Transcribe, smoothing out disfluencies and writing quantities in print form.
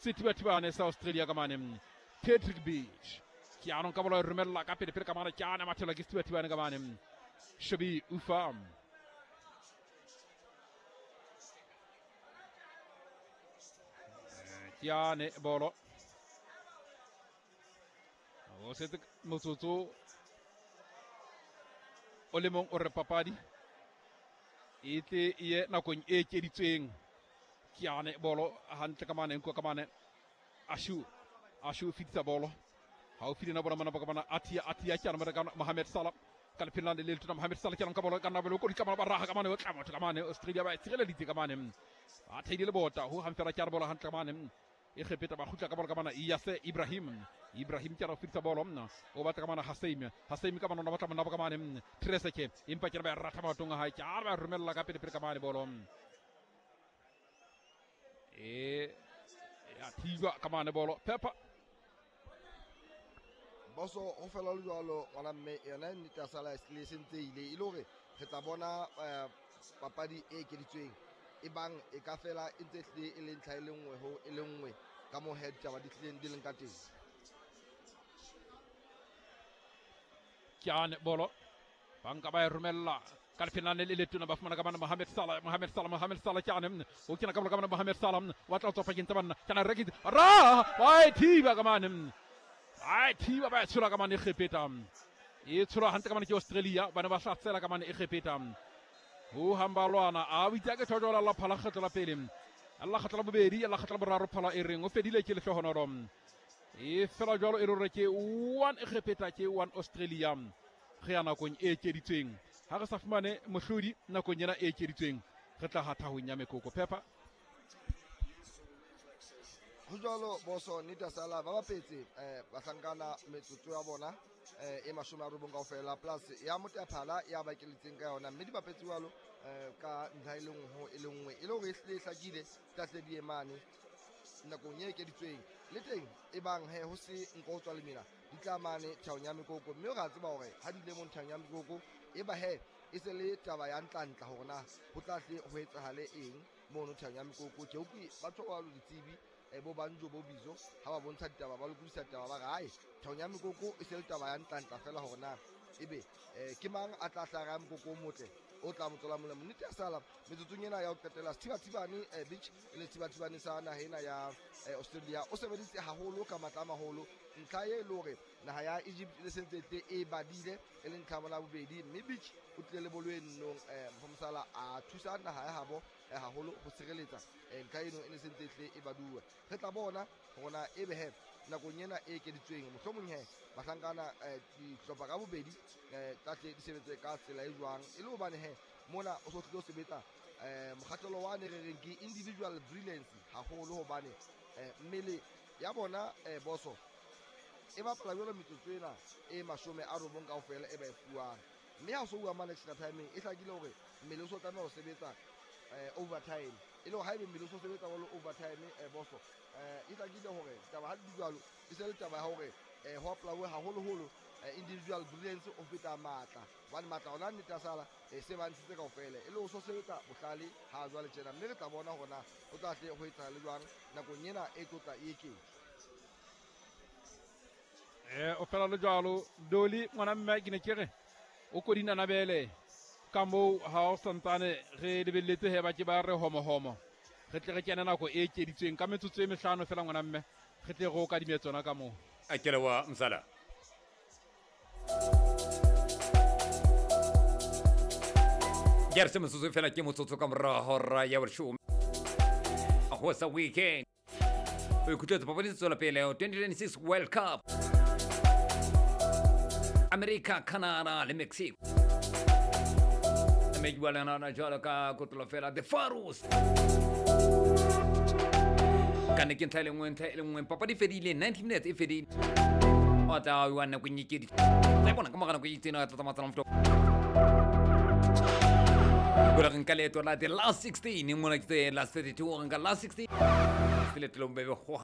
Sethibathibane sa Australia ka mane Patrick Beach. Ke anong ka bolo e romella ka pele pele ka mane ke ana mathelwa ke sethibathibane ka mane Shobi Ufa. Ke ane bolo o setse motsotso o le mong o re papadi e tle e ye nakong e ekeditsweng. Ke ane bolo hantle ka mane nko ka mane Ashu o fetisa bolo haufi le na bona mana ka mana Atia ke ana ka Mohamed Salah ka lepheng le letona Mohamed Salah ke ana ka bolo ka nna bolo ko di ka ba raha ka mane o tla motho ka mane Australia ba tshireleditse ka mane ba theile le bota ho hamfela ke ana bolo hantle ka mane e kgepeta ba kgutla ka bolo ka mana Yase Ibrahim ke ana fetisa bolo o batla ka mana Haseim ka mana o batla mona ka mane Treseke empa ke ba ratha maotong a hae ke a ba romella ka pele pele ka mane bolo e ya thijwa ka mane bolo Pepper boso ho fela le jwalo ngwana mme yona nnete ya sala le sentse ile e le hore re tla bona papadi e ekeditsweng e bang e ka fela e ntse hlile e le ntlha e le nngwe ho e le nngwe ka mo head taba di tlileng di leng ka teng. Ke ane bolo banka ba e romella ka lepheng le letona ba fumana ka bana Mohamed Salah ke ane o kena ka bolo ka bana Mohamed Salah wa tla tswa pakeng tsa banna ke ana rekitse ra ba e thiba ka mane a thiba ba e tshola ka mane e kgepeta e tsholwa hantle ka mane ke Australia ba ne ba hlatsela ka mane e kgepeta ho hamba lwana a o itse ke thojola la phala kgetlo la pele alla kgetlo la bobedi alla kgetlo la boraro phala e reng o fedile ke lehlohonolo e fela jwalo e re ke 1 e kgepeta ke 1 Australia re ya nakong e ekeditsweng ha re sa fumane mohlodi nakong ena e ekeditsweng re tla hatha ho nya mekoko Pepper. Ho jwalo boso nnete ya sala ba bapetse bahlankana metsotso ya bona e 90 kaofela plus ya motaphala ya ba keletseng ka yona mme di bapetse jwalo ka ntlha e le nngwe ho e le nngwe e le hore e hlile e hlakile tlahle di emane nakong e ekeditsweng le teng e bang he ho se nko ho tswa lemina di tla mane thaong ya mekoko mme re a tseba hore ha di ile mo thaong ya mekoko e ba he e se le taba ya ntlantla hore na ho tla hle ho etsahale eng mono thaong ya mekoko. Ke utlwe batho ba lo ditsebi bo banjo bo bizo ha ba bontsha ditaba ba lokodisa ditaba ba re hae thaong ya mekoko e se le taba ya ntlantla fela hore na ebe ke mang a tla hlaha ya mokoko o motle o tla mo tswela molemo. Nnete ya sala metsotsong ena ya ho qetela Sethibathibane Beach e le Sethibathibane sa naha ena ya Australia o sebeditse haholo ka matla a maholo ntlha e le hore naha ya Egypt le sentse tle e badile e le ntlha ya bobedi mme Beach o tlile le bolo e nnong Mfomsala a thusa naha ya habo haholo ho sireletsa ntlha eno e ne sentse tle e baduwe. Re tla bona hore na ebe he nakong ena e ekeditsweng mohlomong he bahlankana dihlopha ka bobedi tlahle di sebetse ka tsela e jwang e le hobane he mona o so tlile ho sebetsa mokgahlelo wa ne re reng ke individual brilliance haholo hobane mmele ya bona boso e bapala jwalo metsotso ena e 90 kaofela e ba e fuwang mme ha o so bua mane extra timeng e hlakile hore mmele o so tlameha ho sebetsa overtime e le hore haebe mmele o so sebetsa jwalo overtime boso e hlakile hore taba ha di jwalo e se le taba ya hore ho apply haholoholo individual brilliance o feta matla hobane matla ona nnete ya sala se ba ntshitse kaofela e le ho so sebetsa bohlale ha jwale tjena mme re tla bona hore na o tla hle ho etsahala jwang nakong ena e tlotla e eketswa. O fela le jwalo Doli ngwana mme ke ne ke re o kodina nabele ka moo ha o santsane re lebelletse he ba ke ba re homohomo re tle re kene nako e ekeditsweng ka metsotso e mehlano fela ngwana mme re tle re o kadime tsona ka moo. A ke leboha msala. Ke re se motsotso fela ke motsotso ka morao hora ya boleshome ho sa weekend o ikutlwetse papadi tse tswela pele 2026 World Cup America, Canada le Mexico. Mme ke bua le yona jwalo ka kotlo fela the Pharaohs. Ka ne ke ntlha e le nngwe papadi fedile 90 minutes e fedile o tla wa nako e nyekedi tla bona ka mogana ko itsena tla tsamaya mfto gore re nka leeto la the last 16 mona ke tse last 32 re nka last 16 se leeto le bobebe go